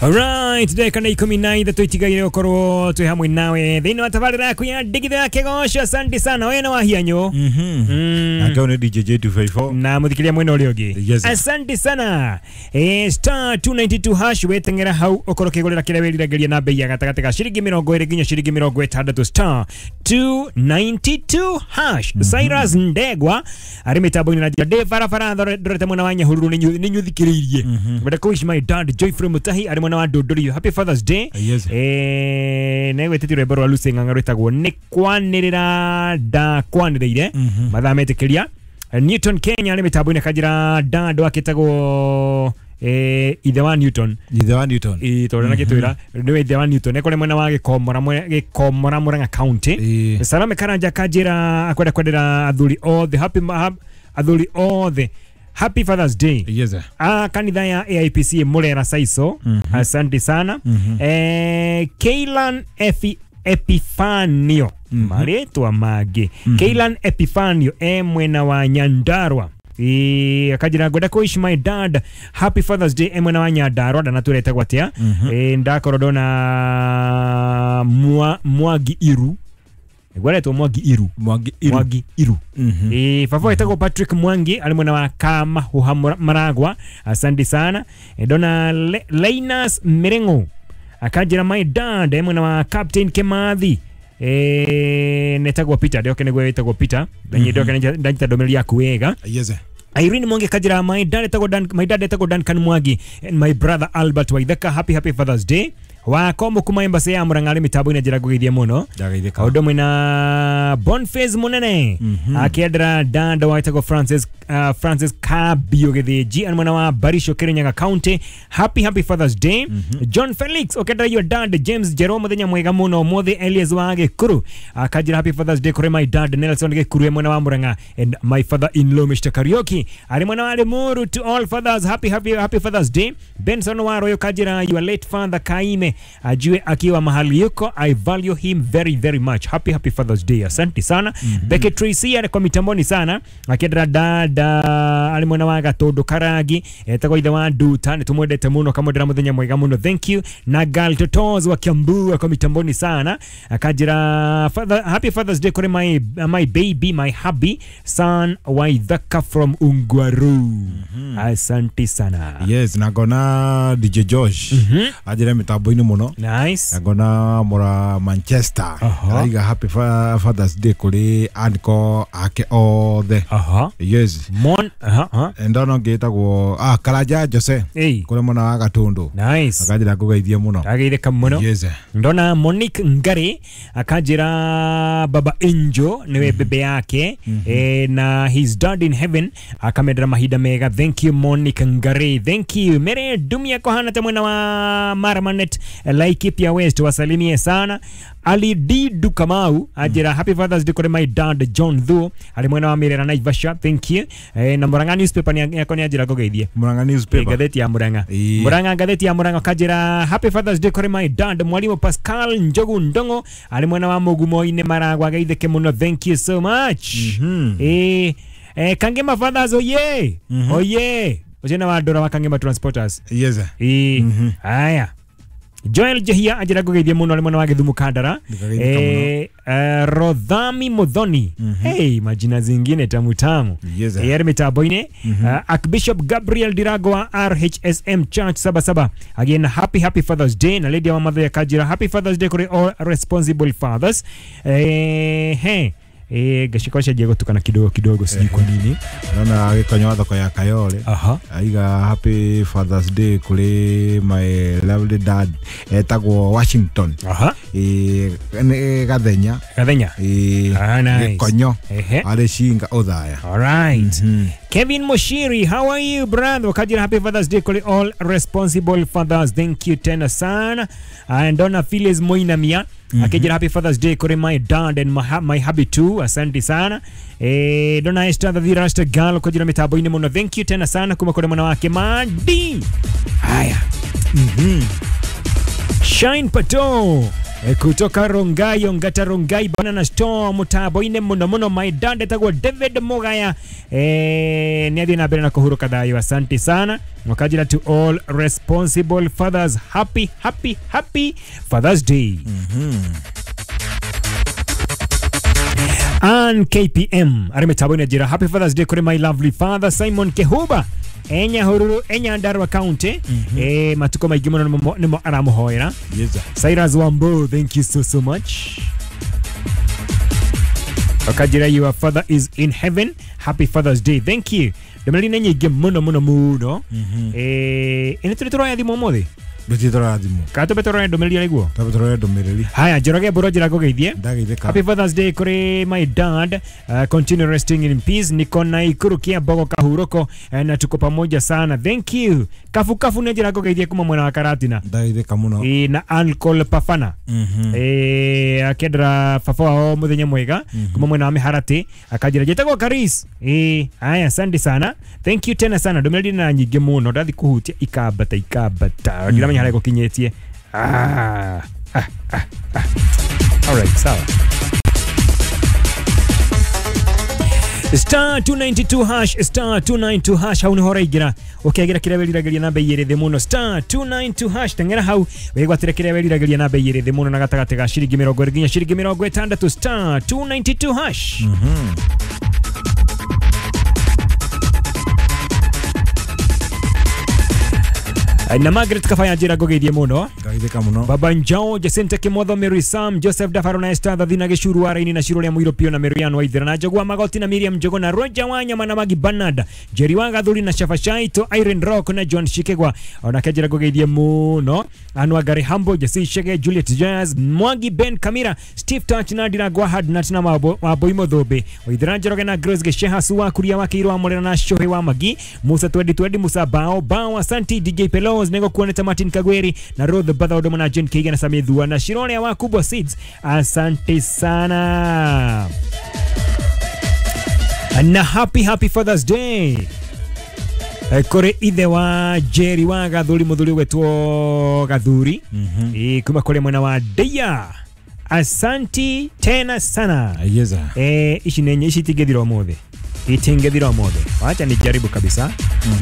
Alright, ndagĩka nĩ 13 itigaire gũkorwo twĩ hamwe nawe thĩinĩ wa tabarĩra yaku ya ndigithũ ya kĩgoco. Asante sana we na wahianyũ. Nake nĩ DJ J254 na mũthikĩria mwena ũrĩa ũngĩ. Yes. Asante sana. Star 292 hash weteng'era hau ũkorwo ũkĩgũrĩra kĩrĩa wĩriragĩria na bei ya gatagatĩ ga ciringi 20 nginya ciringi 60 star 292 hash. Cyrus Ndegwa arĩ mĩtambo-inĩ na njĩra ndĩ barabara ndorete mwena wa Nyahururu nĩ nyũthikĩrĩirie. Ngwenda kũ wish my dad Joyfrey Mutahi arĩ mwena wa Ndũndũri happy Father's Day. Yes. Negwĩtĩtie rwĩmbo rwa Lucy Ng'ang'a rwĩtagwo nĩ kwanĩrĩra ndakwanĩrĩire mathaa metĩkĩria. Newton Kenya arĩ mĩtambo-inĩ kanjĩra dad wakĩtagwo ithe wa Newton. Ithe wa Newton. Tondũ nagĩtwĩra nĩwe ithe wa Newton ekore mwena wa Gĩkomora Murang'a County. Salome Karanja kanjĩra akwenda kwendera athuri othe happy athuri othe happy Father's Day. Yes. Kanitha ya AIPC Murera Saiso. Asante sana. Keilan Epifanio. Marĩtwa mangĩ. Keilan Epifanio mwena wa Nyandarua. Akajira ngwenda kũ wish my dad happy Father's Day mwena wa Nyandarua ndanatũretagwo atĩa. Ndakorwo ndona Mwangi Iru. Gwaretwo Mwangi Iru. Mwangi Iru. Mwangi Iru. Baba etagwo Patrick Mwangi arĩ mwena wa Kamahuha Maragwa. Asante sana. Ndona Linus Mirengo akanjĩra my dad mwena wa Captain Kimathi. Netagwo Peter ndoke nĩguo wĩtagwo Peter ndoke ndanyita ndũmĩrĩri yaku wega. Yes. Irene Mwangi kajira my dad etagwo Dan, my dad etagwo Duncan Mwangi and my brother Albert Waithaka happy happy Father's Day. Wako kuma embassy ya Murang'a arĩ mĩtambo-inĩ njĩra ngũgeithie mũno. Ndagaithĩka. Ũndũ ũmwe na Boniface Munene akĩendera dad wetagwo Francis Francis Kabio Gĩthĩnji arĩ mwena wa Barisho Kirinyaga County happy happy Father's Day. John Felix ũkĩendera your dad James Jerome mũthenya mwega mũno ũmũthĩ. Elias wa Gĩkuru akanjĩra happy Father's Day kũrĩ my dad Nelson Gĩkuru mwena wa Murang'a and my father in law Mr. Karaoke arĩ mwena wa Limuru. To all fathers happy happy happy Father's Day. Benson Waroyo kanjĩra your late father Kaime ajue akiwa mahali yuko I value him very very much happy happy Father's Day. Asante sana. Becky Tracy ari kwa mitamboni sana akiendera dada ari mwena wa Gatundu Karangi etagwo ithe wa Nduta nĩ tumwendete mũno kamwendera mũthenya mwega mũno thank you. Na Gal Totos wa Kiambu kwa mitamboni sana akanjĩra father, happy Father's Day kũrĩ my baby my hubby son Waithaka from Ungwaru. Asante sana. Yes, na ngona DJ Josh ajira mitambo-inĩ mũno. Nice. Na ngona mura Manchester araiga happy Father's Day kũrĩ anko ake othe. Yes. Mon ndona ngĩtagwo Karanja Jose kũrĩ mwena wa Gatundu. Nice. Akanjĩra ngũgeithie mũno. Ageithĩka mũno. Yes. Ndona Monique Ngari akanjĩra Baba Angel niwe bebe yake na his dad in heaven akamendera mahinda mega. Thank you Monique Ngari. Thank you. Mere Dumia kohana ta mwena wa Maramanet Laikipia West wasalimie sana. Ali D Dukamau ajira happy Father's Day kuri my dad John Thuo ari mwena wa Mirera Naivasha. Thank you. Na Murang'a newspaper ni yako ni ajira ngũgeithie. Murang'a newspaper. Ngatheti ya Murang'a. Murang'a ngatheti ya Murang'a kajira happy Father's Day kuri my dad Mwalimu Pascal Njogu Ndongo ari mwena wa Mugumo-inĩ Maragwa geithĩke mũno. Thank you so much. Kangema Fathers oye. Oye. Ũcio wa Ndora wa Kangema Transporters. Yes. Haya. Joel Jehia ajira ngũgeithie mũno arĩ mwena wa Gĩthumo Kandara. Rodhami Muthoni. Hey, majina zingine tamu tamu. Yes. Arĩ mĩtambo-inĩ. Archbishop Gabriel Dirago wa RHSM Church 77 again happy happy Father's Day. Na Lady wa Mother Kajira happy Father's Day kũrĩ all responsible fathers. Gaciko cenjia gũtukana kidogo kidogo sijui kwa nini. Naona gĩkonyo wa thoko ya Kayole aiga happy Father's Day kũrĩ my lovely dad etagwo Washington. Nĩ Gathenya. Gathenya. Nice. Gĩkonyo arĩ Shinga Othaya. All right. Kevin Moshiri, how are you brother? Kajira happy Father's Day kũrĩ all responsible fathers. Thank you tena sana. And Donna Phyllis Moinamia akijira happy Father's Day kũrĩ my dad and my hubby too. Asante sana. Donna Esther the Rasta Girl kujira mitambo-inĩ mũno. Thank you tena sana kuma kũrĩ mwana wake Madi. Haya. Shine Pato Kutoka Rongai Ongata Rongai Banana Store mutambo-inĩ muno muno my dad etagwo David Mugaya nĩ athiĩ na mbere na kũhurũka thayũ. Asante sana. Wakajira to all responsible fathers, happy happy happy Father's Day. Ann KPM arĩ mĩtambo-inĩ njĩra happy Father's Day kũrĩ my lovely father Simon Kehuba enya Hururu enya Nyandarua County. Matuko maingĩ mũno nĩmo aramũhoera. Yes. Cyrus Wambo, thank you so so much. Wakajira your father is in heaven, happy Father's Day. Thank you. Ndũmĩrĩri nĩ nyingĩ mũno mũno mũno. Ĩnĩ tũrĩ tũroya thimũ ũmũthĩ? Ndũtirĩ tũroya thimũ. Kana tũmbe tũroya ndũmĩrĩri arĩguo? Tũmbe tũroya ndũmĩrĩri. Haya, Njoroge Mbũrũ njĩra ngũgeithie. Ndageithĩka. Happy Father's Day kũrĩ my dad. Continue resting in peace. Niko Naikuru Kiambogo Kahuroko na tuko pamoja sana. Thank you. Kafu kafu nĩ njĩra ngũgeithie kuma mwena wa Karatina. Ndageithĩka mũno. Na Uncle Pafana. Akendera baba wao muthenya mwega kuma mwena wa Miharati. Akanjĩra njĩtagwo Karis. Haya, asante sana. Thank you tena sana. Ndũmĩrĩri na nyingĩ mũno ndathi kũhutia ikambata ikambata. Ndiramenya harĩa gũkinyĩtie. All right, sawa. Star 292 hash, star 292 hash hau niho ũraingĩra ũkĩagĩra kĩrĩa wĩriragĩria na bei ĩrĩ thĩ mũno. Star 292 hash teng'era hau wĩgwatĩre kĩrĩa wĩriragĩria na bei ĩrĩ thĩ mũno na gatagatĩ ga ciringi 20 nginya ciringi 60. Star 292 hash. Na Margaret Kafaya njĩra ngũgeithie mũno. Ngageithĩka mũno. Baba Njao, Jacinta Kimotho, Mary Sam, Joseph Dafaro na Esther Thathina Gĩcuru wa Raini na Ciro rĩa Mũirũ Pio na Miriam Waithera na Njogua Magoti na Miriam Njogo na Roger Wanyama na Magi Bernard, Jerry wa Gathuri na Shafashaito, Irene Rock na John Shikegwa. Onake njĩra ngũgeithie mũno. Anwa Gary Hambo, Jesse Shege, Juliet Jazz, Mwangi Ben Kamira, Steve Touch na Ndira Gwahad na Tina Wambui Mũthũmbĩ, Waithera Njoroge na Grace Gesheha Suwa Kuria wa Kĩirũ wa Mũrera na Shohe wa Magi, Musa Twendi Twendi, Musa Bao Bao, Asanti DJ Pelo Nego kuoneta Martin Kagweri na Ruth Batha Odomo na Jane Keiga na Samithua na Shirone wa Kubwa Seeds. Asante sana. Na happy happy Father's Day kũrĩ ithe wa Jerry wa Gathuri mũthuri wetwo Gathuri kuma kũrĩ mwena wa Deya. Asanti tena sana. Yes. Ici nĩ ici itingĩthira ũmũthĩ. Itingĩthira ũmũthĩ. Wacha nijaribu kabisa.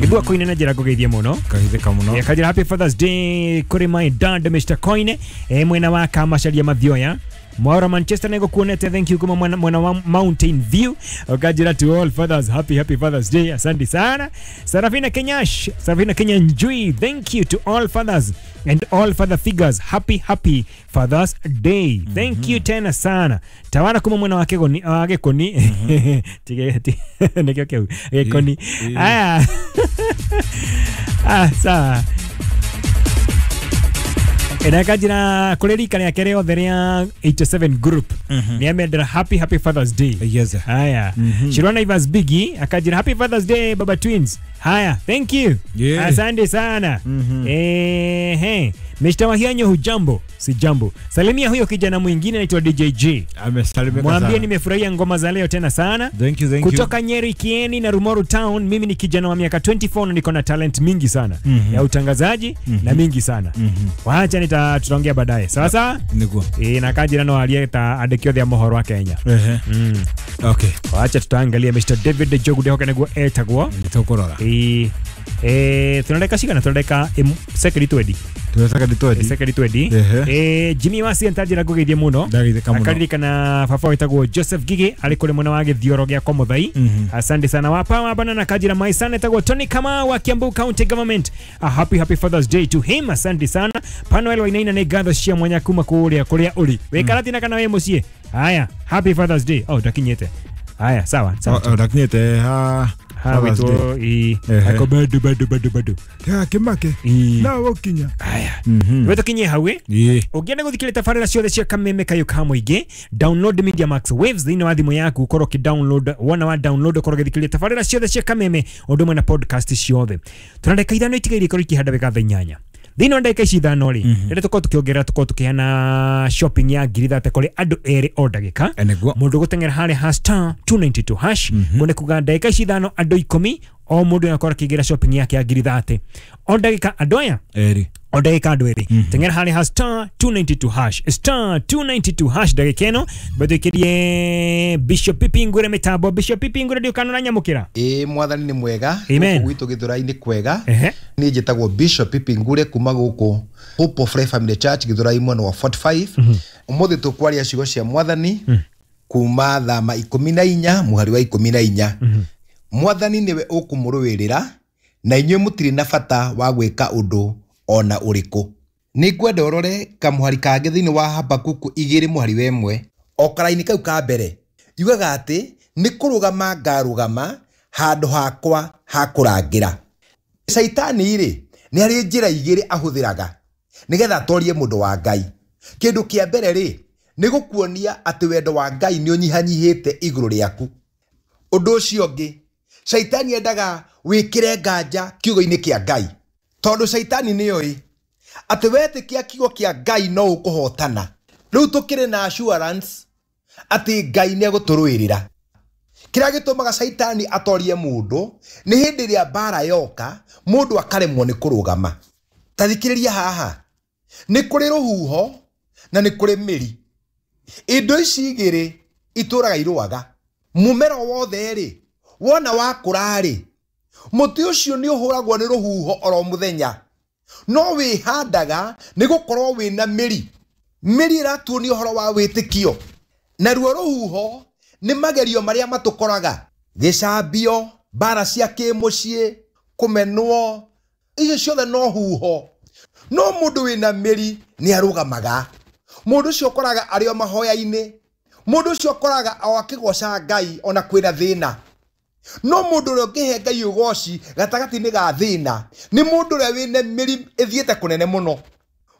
Ngĩthua koine na njĩra ngũgeithie mũno. Ngageithĩka mũno. Kajira happy Father's Day kũrĩ my dad Mr. Koine mwena wa Kamacaria Mathioya. Mwaura Manchester nego kuonete, thank you kuma mwena wa Mountain View. Okajira to all fathers, happy happy Father's Day. Asante sana. Sarafina Kenyash, Sarafina Kenya Njui, thank you to all fathers and all father figures, happy happy Father's Day. Thank you tena sana. Tawara kuma mwena wa Kegoni, Gekoni. Tige nekio keu. Gekoni. Ah. Ah, sawa. Enakajira kũrĩ rika rĩake rĩothe rĩa 87 group nĩ amendera happy happy Father's Day. Yes. Haya. Shirona Ivas Biggie akajira happy Father's Day Baba Twins. Haya, thank you. Yeah. Asante sana. Mr. Wahianyo hujambo? Si jambo. Salimia huyo kijana mwingine anaitwa DJG. Amesalimika sana. Mwambie nimefurahia ngoma za leo tena sana. Thank you, thank you. Kutoka Nyeri Kieni na Rumoru Town, mimi ni kijana wa miaka 24 na niko na talent mingi sana ya utangazaji na mingi sana. Wacha tutaongea baadaye. Sawa sawa? Nikuwa. Na kajira no alieta andĩki othe a mohoro wa Kenya. Okay. Wacha tutaangalia Mr. David Njogu ndehoka nĩguo etagwo. Nĩtũkũrora. Tunadeka cigana? Tunadeka second 20. Second 20. Jimmy Wasi entajira ngũgeithie mũno. Akaririkana baba wetagwo Joseph Gigi arĩ kũrĩ mwena wa Gĩthioro gĩa kwa Mũthai. Asante sana. Wapa wa bana na kajira my son etagwo Tony Kamau wa Kiambu County Government. A happy happy Father's Day to him. Asante sana. Panuel Wainaina nĩ ngatho cia mwanya kuma kũrĩa kũrĩa ũrĩ. Wĩ Karatina kana wĩ mũciĩ? Haya, happy Father's Day. Oh, ndakinyĩte. Haya, sawa sawa. Ndakinyĩte ha witwo ako bado bado bado bado ya kimake na wokinya. Haya, we tukinye hau ũngĩenda gũthikĩrĩria tabarĩra ciothe cia Kameme Kayũ ka Mũingĩ, download Media Max Waves thĩinĩ wa thimũ yaku, ũkorwo ũkĩ download wona wa download ũkorwo ũgĩthikĩrĩria tabarĩra ciothe cia Kameme ũndũ ũmwe na podcast ciothe. Tũna ndagĩka 5 itigaire ikorwo ikĩhanda wega thaa 8. Thĩinĩ wa ndagĩka ici 5 rĩ, rĩrĩa tũkorwo tũkĩongerera tũkorwo tũkĩheana shopping ya ngiri 30 kũrĩ andũ erĩ o ndagĩka. Mũndũ gũteng'era harĩa ha star 292 hash kuone kuga ndagĩka ici 5 andũ 10 O mũndũ akorwo akĩingĩra shopping yake ya ngiri 30 o ndagĩka andũ aya Eri. O ndagĩka andũ erĩ. Teng'era harĩ ha star 292 hash, star 292 hash. Ndagĩka ĩno betwĩkĩrie Bishop Pipi Ngure mĩtambo. Bishop Pipi Ngure, ndiũkana ũranyamũkĩra? Ĩĩ, mwathani nĩ mwega. Amen. Gũkũ gwitũ Gĩthũrai-inĩ kwega. Ehe. Niĩ njĩtagwo Bishop Pipi Ngure kuma gũkũ Hope of Life Family Church, Gĩthũrai, mwena wa 45. Ũmũthĩ tũkwaria ciugo cia mwathani kuma Thama 14 mũhari wa 14. Mwathani nĩwe ũkũmũrũĩrĩra, na inyuĩ mũtirĩ na bata wa gwĩka ũndũ ona ũrĩkũ. Nĩ ngwenda ũrore kamũhari kangĩ thĩinĩ wa Habakuku 2 mũhari wa 1, o karaini kau ka mbere, yugaga atĩ nĩ kũrũgama ngarũgama handũ hakwa ha kũrangĩra. Caitani rĩ, nĩ harĩ njĩra igĩrĩ ahũthĩraga nĩgetha atorie mũndũ wa Ngai. Kĩndũ kĩa mbere rĩ, nĩ gũkuonia atĩ wendo wa Ngai nĩ ũnyihanyihĩte igũrũ rĩaku. Ũndũ ũcio ũngĩ, caitani endaga wĩkĩre nganja kiugo-inĩ kĩa Ngai, tondũ caitani nĩoĩ atĩ wetĩkia kiugo kĩa Ngai no ũkũhotana. Rĩu tũkĩrĩ na assurance atĩ Ngai nĩ egũtũrũĩrĩra. Kĩrĩa gĩtũmaga caitani atorie mũndũ nĩ hĩndĩ ĩrĩa mbara yoka, mũndũ akaremwo nĩ kũrũgama. Ta thikĩrĩria haha, nĩ kũrĩ rũhuho na nĩ kũrĩ mĩri. Indo ici igĩrĩ itũraga irũaga. Mũmera wothe rĩ, wona wakũra rĩ, mũtĩ ũcio nĩ ũhũragwo nĩ rũhuho oro mũthenya, no wĩhandaga nĩ gũkorwo wĩna mĩri. Mĩri ĩratuonia ũhoro wa wĩtĩkio, naruo rũhuho nĩ magerio marĩa matũkoraga, gĩcambio, mbara cia kĩmũciĩ, kũmenwo, icio ciothe no huho. No mũndũ wĩna mĩri nĩ arũgamaga. Mũndũ ũcio ũkoraga arĩ o mahoya-inĩ, mũndũ ũcio ũkoraga o akĩgoca Ngai ona kwĩna thĩna. No mũndũ ũrĩa ũngĩhe Ngai ũgoci gatagatĩ-inĩ ga thĩna nĩ mũndũ ũrĩa wĩna mĩri ĩthiĩte kũnene mũno.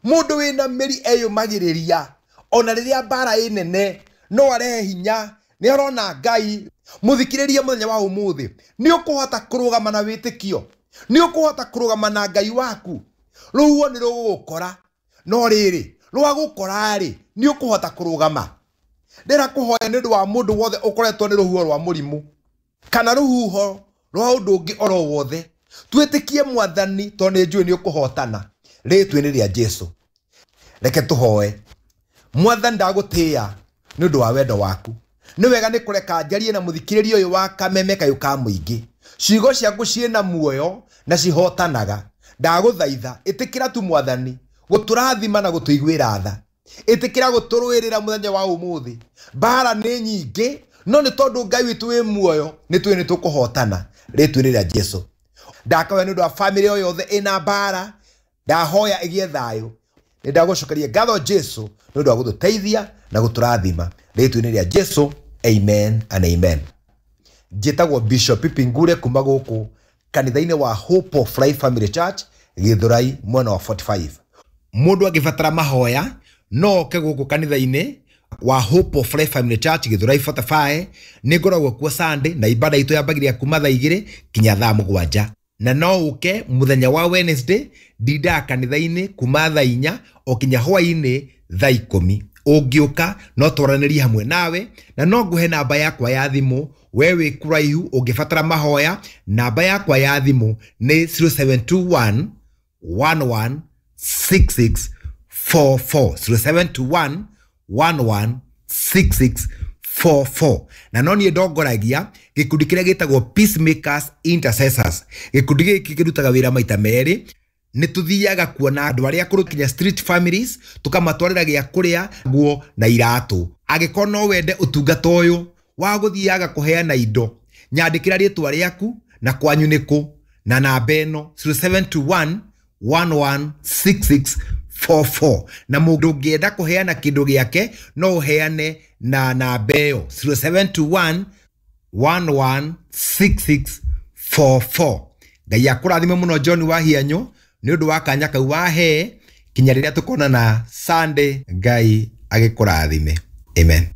Mũndũ wĩna mĩri eyũmagĩrĩria ona rĩrĩa mbara ĩ nene, no arehe hinya, nĩ arona Ngai. Mũthikĩrĩrie mũthenya wa ũmũthĩ, nĩ ũkũhota kũrũgama na wĩtĩkio, nĩ ũkũhota kũrũgama na Ngai waku. Rũhuho nĩ rũgũgũkora, no rĩrĩ rwagũkora rĩ, nĩ ũkũhota kũrũgama. Ndĩra kũhoya nĩ ũndũ wa mũndũ wothe ũkoretwo nĩ rũhuho rwa mũrimũ kana rũhuho rwa ũndũ ũngĩ oro wothe, twĩtĩkie mwathani tondũ nĩ njũĩ nĩ ũkũhotana. Rĩĩtwa-inĩ rĩa Jesu, reke tũhoe. Mwathani, ndagũtĩĩa nĩ ũndũ wa wendo waku. Nĩ wega nĩ kũreka njarie na mũthikĩrĩria ũyũ wa Kameme Kayũ ka Mũingĩ. Ciugo ciaku ciĩna muoyo na cihotanaga. Ndagũthaitha, ĩtĩkĩra tu mwathani gũtũrathima na gũtũiguĩra tha. Ĩtĩkĩra gũtũrũĩrĩra mũthenya wa ũmũthĩ. Mbara nĩ nyingĩ, no nĩ tondũ Ngai witũ wĩ muoyo, nĩ tũĩ nĩ tũkũhotana. Rĩĩtwa-inĩ rĩa Jesu. Ndakahoya nĩ ũndũ wa bamĩrĩ o yothe ĩna mbara, ndahoya ĩgĩe thayũ. Nĩ ndagũcokeria ngatho Jesu nĩ ũndũ wa gũtũteithia na gũtũrathima. Rĩĩtwa-inĩ rĩa Jesu, amen and amen. Njĩtagwo Bishop Pipi Ngure kuma gũkũ kanitha-inĩ wa Hope of Life Family Church, Gĩthũrai, mwena wa 45. Mũndũ angĩbatara mahoya no oke gũkũ kanitha-inĩ wa Hope of Life Family Church, Gĩthũrai 45. Nĩ ngoragwo kuo Sunday, na ibada itũ yambagĩrĩria kuma thaa 2 kinya thaa 7. Na no ũke mũthenya wa Wednesday, ndindaga kanitha-inĩ kuma thaa 4 o kinya hwaĩ-inĩ thaa 10. Ũngĩũka no twaranĩrie hamwe nawe, na no ngũhe namba yakwa ya thimũ. We wĩ kũraihu ũngĩbatara mahoya, namba yakwa ya thimũ nĩ 0721 11 66 44, 0721 11 66 44. Na no niĩ ndongoragia gĩkundi kĩrĩa gĩtagwo Peacemakers Intercessors. Gĩkundi gĩkĩ kĩrutaga wĩra maita merĩ. Nĩ tũthiaga kuona andũ arĩa akũrũ kinya street families, tũkamatwarĩra gĩa kũrĩa, nguo na iratũ. Angĩkorwo no wende ũtungata ũyũ wa gũthiaga kũheana indo, nyandĩkĩra rĩtwa rĩaku na kwanyu nĩ kũ na namba ĩno 0721 11 66 44. Na mũndũ ũngĩenda kũheana kĩndũ gĩake no ũheane na namba ĩyo 0721 11 66 44. Ngai akũrathime mũno John Wahianyũ nĩ ũndũ wa kanya kau wahe, kinya rĩrĩa tũkonana Sunday. Ngai agĩkũrathime. Amen.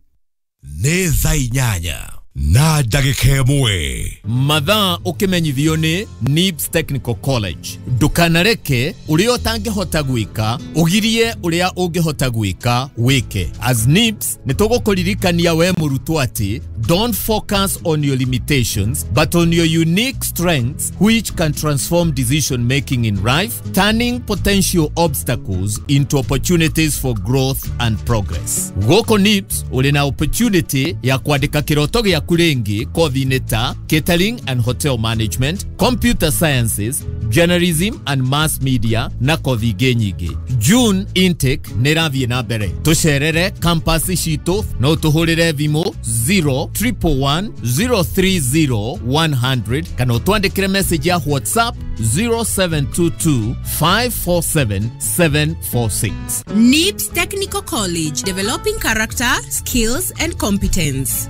Nĩ thaa 8. Na ndagĩka ĩmwe. Mathaa ũkĩmenyithio nĩ NIBS Technical College. Ndũkanareke ũrĩa ũtangĩhota gwĩka ũgirie ũrĩa ũngĩhota gwĩka wĩke. As NIBS nĩ tũgũkũririkania we mũrutwo atĩ don't focus on your limitations but on your unique strengths which can transform decision making in life, turning potential obstacles into opportunities for growth and progress. Gũkũ NIBS ũrĩ na opportunity ya kwandĩka kĩroto gĩaku rĩngĩ kothi-inĩ ta catering and hotel management, computer sciences, journalism and mass media na kothi ingĩ nyingĩ. June intake nĩ ĩrathiĩ na mbere. Tũcerere campus citũ no tũhũrĩre thimũ 0 111 030 100 kana ũtwandĩkĩre message ya WhatsApp 0722 547 746. NIBS Technical College, developing character, skills, and competence.